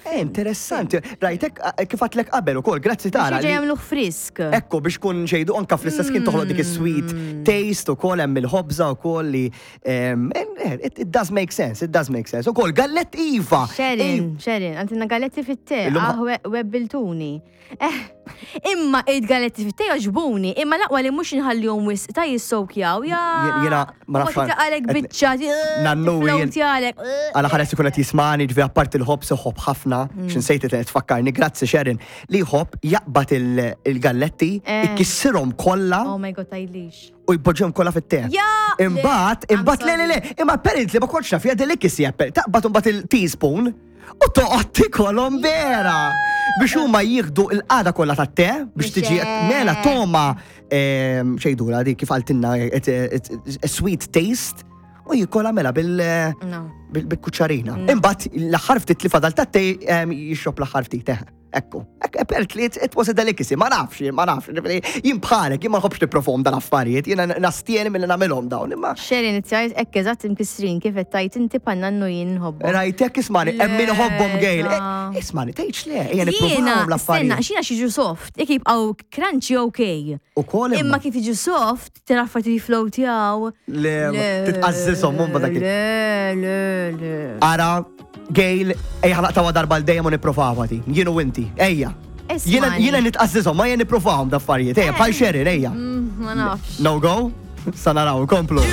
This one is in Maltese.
Eh, interessanti. Rajtek eh, kif għatlek qabel ukoll, grazzi tara. Biex jagħmluh frisk. Ekku biex kun ġejdu anka fl-istess kien toħloq dik is-sweet taste ukoll hemm il-ħobża ukoll li eh, it does make sense, it does make sense. Ukoll gallet iva. Sherin, Sherin, għantina galletti fit-te, ah, webbiltuni. Eh, imma id-galetti fit joġbuni, imma laqwa li mhux nħallihom wisq ta' jissokjaw, ja. Jiena ma nafx. Għalek biċċa, Nannu jien. Għala ħares ikun qed jismani, ġifi apparti l-ħobż iħobb ħafna, mm. x'insejt li tfakkarni, grazzi Sharon, li jħobb jaqbad il-galletti, eh. ikissirhom kollha. Oh my god, tajlix. U jpoġġihom kollha fit-te. Imbagħad, imbagħad le le le, imma apparently ma kontx naf, hija delicacy taqbad imbagħad il-teaspoon U toqgħod tikolhom vera! Biex huma jieħdu l-qagħda kollha tat-te biex tiġi mela toma ehm, xejdura dik kif qaltilna a sweet taste u jikola mela bil-kuċċarina. Imbagħad l-aħħar ftit li fadal tat-te ehm, jixrob l-aħħar ftit. Eh. Ekku, apparently it was a delicacy, ma nafx, ma nafx, jien bħalek, jien ma nħobbx nipprofom dan affarijiet, jiena nastieni milli nagħmilhom dawn, imma. Xeri inizjajt hekk eżatt imkissrin kif qed tgħid inti bħal nannu jien nħobbhom. Rajt hekk ismani, hemm min iħobbhom Gail. Eh, ismani, tgħidx le, ejja nipprovawhom l-affarijiet. Jiena, xina xiġu soft, jekk jibqgħu crunchy okay. Ukoll imma kif jiġu soft, Tira affarijiet jiflowtjaw. Le, titqażżishom mumba dak. Le, le, le. Ara, Gail, ejja ħlaqtawa darba l dejjem u nipprovawa di. Jien u inti, ejja. Jiena jiena nitqażżishom, ma jien nipprovahom d'affarijiet. Ejja, bħal Sheryl, ejja. Mm, ma nafx. No go? Sa naraw, komplu.